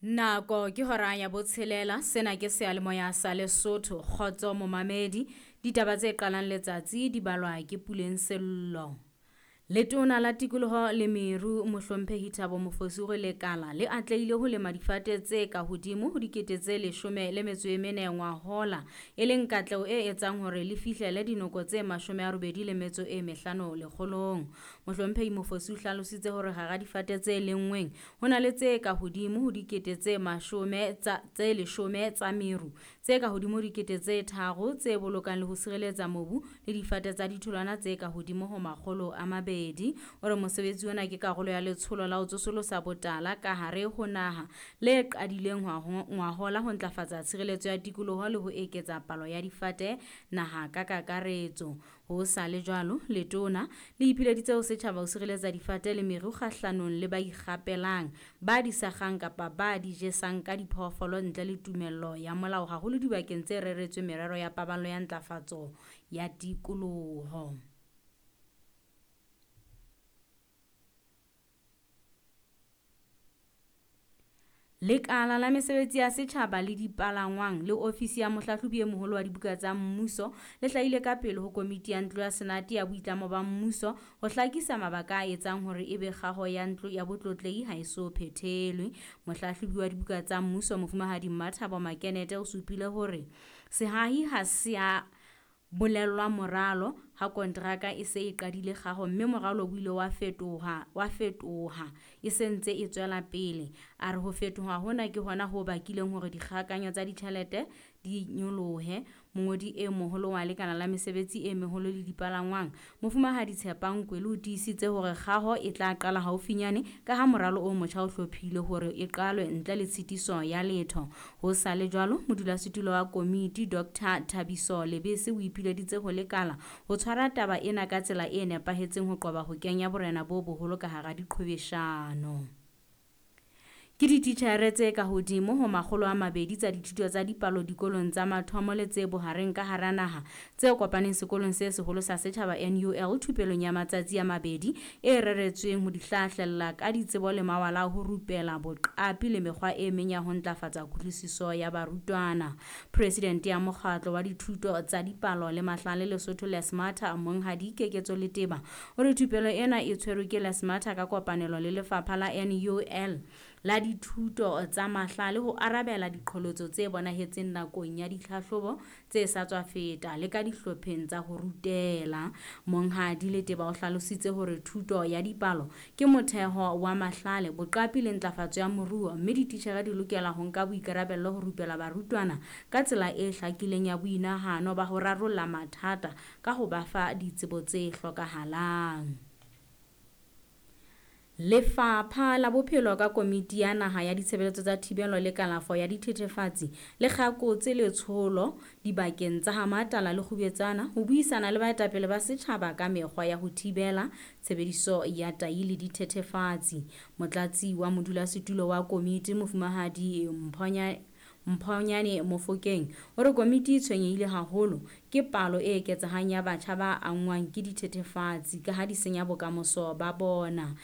Nako ke hora ya botshelela, sena ke seyalemoya sa Lesotho. Kgotso momamedi, ditaba tse qalang letsatsi di balwa ke Puleng Sello. Letona la Tikoloho le Meru Mohlomphehi Thabo Mofosi o re lekala le atlehile ho lema difate tse ka hodimo ho 14,000 ngwahola, e leng katleho e etsang hore le fihlele dinoko tse 85 lekgolong. Mohlomphehi Mofosi o hlalositse hore hara difate tse lenngweng ho na le tse ka hodimo ho 10,000 tsa meru, tse ka hodimo ho 3,000 tse bolokang le ho sireletsa mobu le difate tsa ditholwana tse ka hodimo ho 200. O re mosebetsi ona ke karolo ya letsholo la ho tsosolosa botala ka hare ho naha le qadileng ngwahola ho ntlafatsa tshireletso ya tikoloho le ho eketsa palo ya difate naha ka kakaretso. Ho sa le jwalo, letona le ipileditse ho setjhaba ho sireletsa difate le meru kgahlanong le ba ikgapelang, ba di sakgang kapa ba di jesang ka diphoofolo ntle le tumello ya molao, haholo dibakeng tse reretsweng merero ya paballo ya ntlafatso ya tikoloho. Lekala la mesebetsi ya setjhaba le dipalangwang le ofisi ya mohlahlobi e moholo wa dibuka tsa mmuso le hlahile ka pele ho komiti ya ntlo ya senate ya boitlamo ba mmuso ho hlakisa mabaka a etsang hore ebe kgaho ya ntlo ya botlotlehi ha e so phethelwe. Mohlahlobi wa dibuka tsa mmuso Mofumahadi Mmathabo Makenete o supile hore sehahi ha se a bolellwa moralo ha konteraka e se e qadile kgaho mme moralo o ile wa fetoha e se ntse e tswela pele. A re ho fetoha hona ke hona ho bakileng hore dikgakanyo tsa ditjhelete di nyolohe. Mongodi e moholo wa lekala la mesebetsi e meholo le dipalangwang Mofumahadi Tshepang Kwele o tiisitse hore kgaho e tla qala haufinyane ka ha moralo o motjha o hlophile hore e qalwe ntle le tshitiso ya letho. Ho sa le jwalo, modulasetulo wa komiti Dr Thabiso Lebese o ipileditse ho lekala ho tshwara taba ena ka tsela e nepahetseng ho qoba ho kenya borena bo boholo ka hara diqhwebeshano. Ke dititjhere tse ka hodimo ho 200 tsa dithuto tsa dipalo dikolong tsa mathomo le tse bohareng ka hara naha tse kopaneng sekolong se seholo sa setjhaba NUL thupelong ya matsatsi a mabedi e reretsweng ho di hlahlella ka ditsebo le mawala a ho rupela boqapi le mekgwa e meng ya ho ntlafatsa kutlwisiso ya barutwana. Presidente ya mokgatlo wa dithuto tsa dipalo le mahlale Lesotho Lesmata Monghadi Keketso Leteba o re thupelo ena e tshwerwe ke Lesmata ka kopanelo le lefapha la NUL la dithuto tsa mahlale ho arabela diqholotso tse bonahetseng nakong ya ditlhahlobo tse sa tswa feta le ka dihlopheng tsa ho rutela. Monghadi Leteba o hlalositse hore thuto ya dipalo ke motheho wa mahlale, boqapi le ntlafatso ya moruo mme dititjhere di lokela ho nka boikarabello ho rupela barutwana ka tsela e hlakileng ya boinahano ba ho rarolla mathata ka ho ba fa ditsebo tse hlokahalang. Lefapha la Bophelo ka Komiti ya Naha ya Ditshebeletso tsa Thibelo le Kalafo ya Dithethefatsi le kgakotse letsholo dibakeng tsa Hamatala le Kgubetsana ho buisana le baetapele ba setjhaba ka mekgwa ya ho thibela tshebediso ya tahi le dithethefatsi. Motlatsi wa modulasetulo wa komiti Mofumahadi Mphonyane Mofokeng o re komiti e tshwenyehile haholo ke palo e eketsehang ya batjha ba angwang ke dithethefatsi ka ha di senya bokamoso ba bona.